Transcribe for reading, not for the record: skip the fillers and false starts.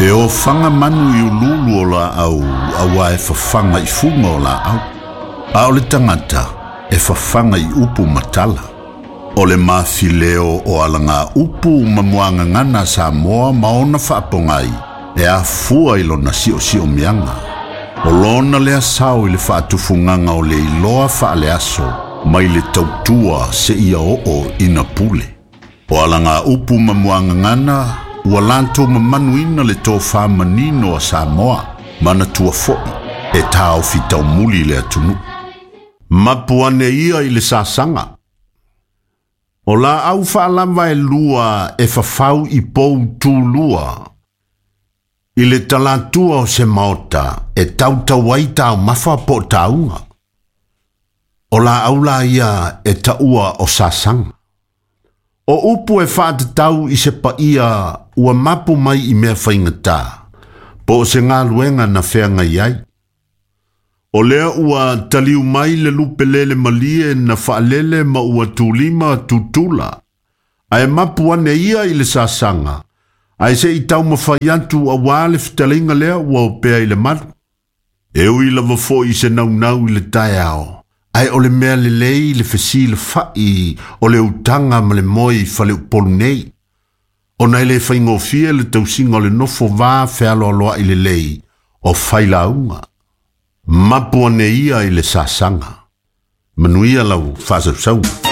E ofaga manu i uluulu o laau auā e fafaga i fuga o laau. A o le tagata e fafaga i upu ma tala. O le mafileo o alagaupu ma muagagana a Samoa ma ona faapogai e afua i lona siosiomiaga. O lona lea sao i le faatufugaga o le iloa faaleaso mai le tautua seia oo ina pule. O alagaupu ma muagagana ua latou mamanuina le tofa manino a Samoa, manatua foi e taofi taumuli le atunuu. Mapu ane ia i le sasaga. O laau faalava e lua e fafau i pou tulua. I le talatua o se maota e tautau ai taumafa po o tauga. O laau la ia e taua o sasaga. O upu e faatatau i se paia ua mapu mai i mea faigata, po o se galuega na feagai ai. O lea ua taliu mai le lupe lele malie na faalele ma ua tulima tutula, ae mapu ane ia i le sasaga, ae se i taumafai atu auā le fetalaiga lea ua opea i le malu. E ui lava foi i se naunau i le taeao, ae o le mea lelei le fesilafa'i o le utaga ma le moe i faleupolu nei, ona e le faigofie le tausiga o le nofo va fealoaloa'i lelei o failauga. Mapu ane ia i le sasaga. Manuia lau faasausauga.